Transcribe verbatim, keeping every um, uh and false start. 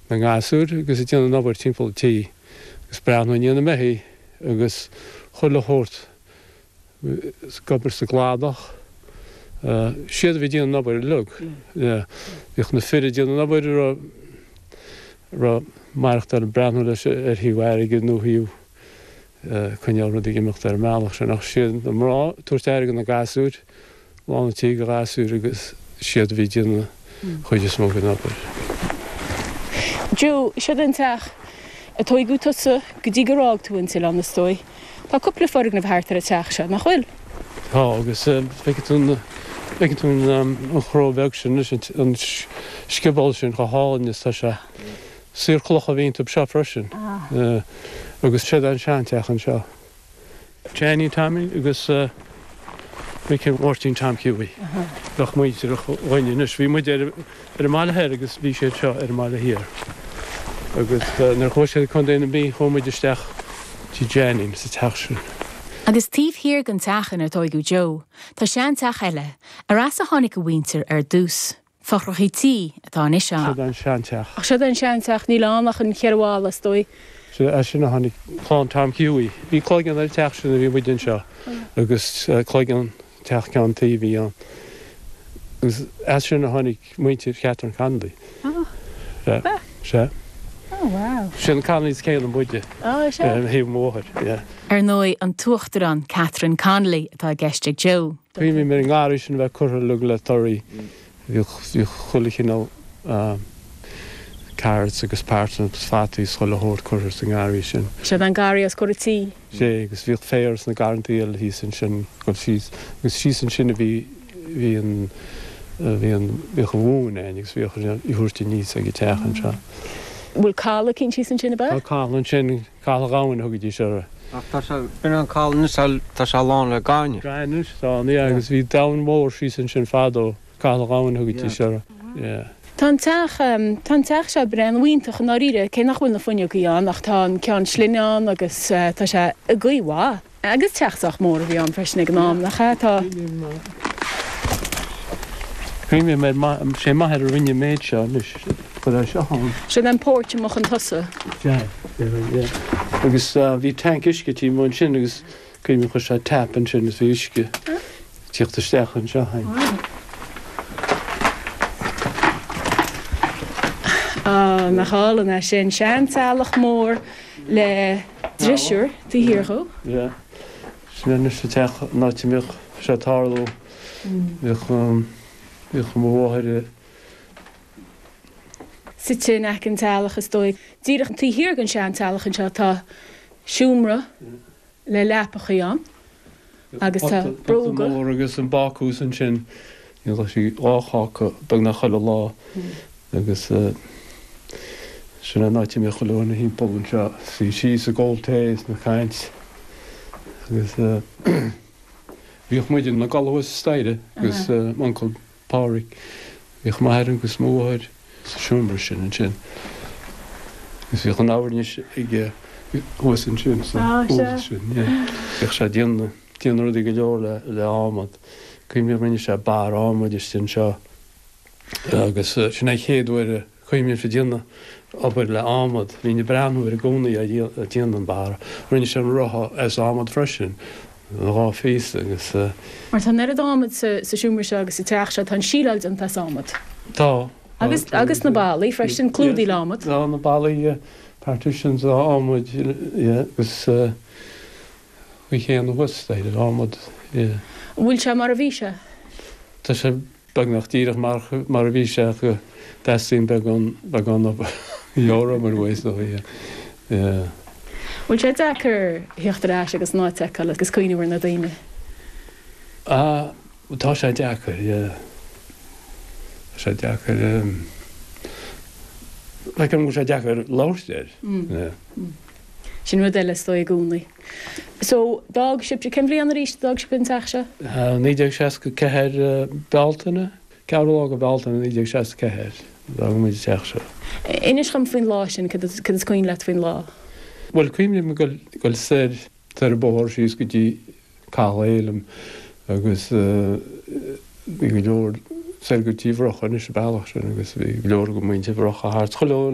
na ngasúr agus ag déanamh an obair timpeall an tí agus breathnú i ndiaidh na mbeithígh agus chuile shórt ag obair sa gcladach. Siad a bhí ag déanamh an obair uilig. Bhíodh na fir ag déanamh an obair a raibh raibh maireachtáil ag breathnú leis ar thaobh airgid nó thaobh coinneáil rudaí ag imeacht ar an mbealach sin ach siad na mná ag tabhairt aire do na gasúir, lán an tí de ghasúir agus siad a bhí ag déanamh an chuid is mó den obair. Joe, Seod an teach a tóigeadh tusa go dtí gur fhág tú an t-oileán is dóigh. Tá cúpla foirgneamh thart ar an teach seo, nach bhfuil? Tá, agus feicfidh tú an feicfidh tú an chró bheag sin anois, an scioból sin chomh hálainn is tá sé. Saor cloch a bhí iontu seo freisin. Agus seod an seanteach anseo. Janie Tommy agus Micí Mháirtín Tom Hughie. Bheadh muintir againn anois. Bhí muid ar ar an mbaile thoir agus bhí siad seo ar an mbaile thiar. Agus nuair a chuaigh siad Contae na Mí chuaigh muid isteach tí Janie sa teach sin. Agus taobh thiar den teach inar tóigeadh Joe, tá seanteach eile, ar as a tháinig a mhuintir ar dtús. Fothrachaí tí atá anois ann. Seod an seanteach. Ach seod an seanteach, níl ann ach an cheithre bhalla, is dóigh. Sea, as sin a tháinig clann Tom Hughie. Bhí cloigeann ar an teach sin a bhí muid anseo agus cloigeann teach ceann tuí a bhí ann. Agus as sin a tháinig muintir Catherine Connolly. Sea, sea. Oh wow. Sin Connolly's céanna muide. Oh, sea. Ar thaobh mo mháthar, yeah. Ar ndóigh, an tUachtarán Catherine Connolly atá i gceist ag Joe. Cuimhním ar an ngarraí sin a bheith curtha uilig le torthaí. Bhíodh chuile chineál carrots agus parsnips agus fataí is chuile shórt curtha sa ngarraí sin. Seod an garraí os comhair an tí. Sea, agus bhíodh féar sna garrantaí eile thíos ansin, dul síos, agus síos ansin a bhí, bhí an, bhí an, bhíodh an mhóin againn agus bhíodh í á thabhairt aníos ag an teach anseo. Bhfuil caladh eicínt thíos ansin, ab ea? Tá caladh ansin, Caladh Dhomhain a thugaidís uirthi. Ach tá sé, b'in an caladh anois, tá sé lán le gaineamh. Gaineamh atá ann, yeah, agus bhí domhan mór síos ansin fadó. Caladh Dhomhain a thugaidís uirthi, yeah. Tá an teach, tá an teach seo breá iontach i ndáiríre, cé nach bhfuil na fuinneogaí ann ach tá an ceann slinne ann agus tá sé i gcaoi mhaith. Agus teach sách mór a bhí ann freisin ag an am, nach ea? Tá. Cuimhním ar, sé m'athair a rinne an méid seo anois, chuir é seo ann. Sin an porch amuigh chun tosaigh. Sea, yeah. Agus bhí tanc uisce taobh amuigh ansin agus cuimhním chuir sé tap ansin agus bhí uisce. Tíocht isteach anseo féin. Á, nach álainn é sin. Seanteallach mór le drisiúr taobh thiar dhó. Yeah. Sin anois an teach an áit a mbíodh sé ag tarlú. Bhíodh, bhíodh mo mháthair i. Suite in aice an teallach is dóigh. Díreach taobh thiar den seanteallach anseo tá seomra le leapachaí ann. Agus tá bróga. Pota mór agus an bácús ansin. Dhéanadh sí dhá cháca beagnach chuile lá agus sin an áit a mbíodh chuile dhuine thimpeall anseo. Suí síos ag ól tae is ag caint agus bhíodh muid ina gcodladh thuas sa staighre agus m'uncail Pádraig. Bhíodh m'athair agus mo mháthair sa seomra sin ansin agus bhíodh an fhoirnis aige thuas ansin sa hall sin. Bhíodh sé ag déanamh déanamh rudaí go leor le le adhmad. Cuimhním rinne sé barra adhmaid istigh anseo agus sin é an chéad uair a cuimhním ag déanamh obair le adhmad. Bhínn ag breathnú air i gcónaí ag déanamh an barra. Rinne sé an rotha as adhmad freisin. Dhá phíosa agus. Mar tá an oiread adhmaid sa seomra seo agus sa teach seo, tá an síleáil déanta as adhmad. Tá. Agus agus na ballaí freisin, clúdaithe le adhmad. Tá na ballaí, partitions adhmaid, yeah, agus faoi chéanna thuas staighre adhmad, yeah. An bhfuil sé mar a bhí sé? Tá sé beagnach díreach mar mar a bhí sé ach go dteastaíonn beagán beagán obair obair uaidh is dóigh, yeah. Yeah. Bhfuil sé deacair theacht ar ais agus an áit a fheiceáil agus cuimhneamh ar na daoine? Ah, tá sé deacair, yeah. Tá sé deacair, feicim go bhfuil sé deacair labhairt air, yeah. Sin rud eile is dóigh i gcónaí. So, d'fhág sibh, cén bhliain arís a d'fhág sibh an teach seo? Naoi déag seasca ceathair Bealtaine. Ceathrú lá de Bhealtaine naoi déag seasca ceathair, d'fhág muid an teach seo. Inis dhom faoin lá sin, cad is cuimhin leat faoin lá? Bhuel, cuimhním ag dul soir, soir an bóthar síos go dtí Caladh Fhéilim agus bhí go leor soir go dtí Bhrocha anois an bealach sin agus bhí go leor de mhuintir Bhrocha thart chuile